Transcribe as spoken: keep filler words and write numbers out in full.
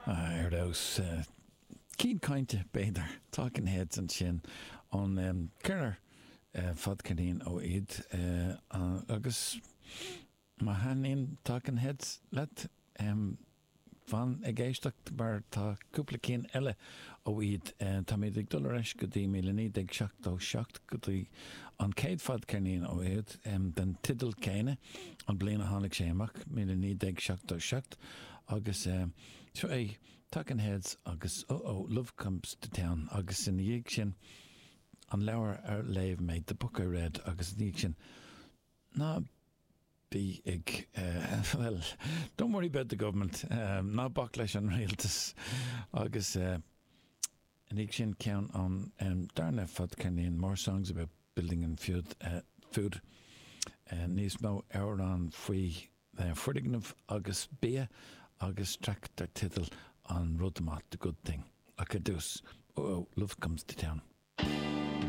Ar fheabhas cinn cainte b'fhéidir Talking Heads ansin ón ceithre fadcheirnín ó iad agus má thaitníonn Talking Heads leat fan ag éisteacht mar tá cúpla cinn eile ó iad táimid ag dul ar ais go dtí míle naoi déag seachtó seacht go dtí an chéad fadcheirnín ó iad den teideal céanna an bliain a tháinig sé amach míle naoi déag seachtó seacht agus seo é Talking Heads agus Oh Oh Love Comes to Town agus ina dhiaidh sin an leabhar ar léigh mé The Book I Read agus ina dhiaidh sin ná bí ag well don't worry about the government um, ná bac leis an rialtas agus uh, ina dhiaidh sin ceann an um, darna fadcheirnín More Songs About Building and Food, uh, food uh, níos mó amhrán faoi uh, foirgnimh agus bia agus traic dar teideal an rud maith the good thing. Ach ar dtús oh, oh, love comes to town.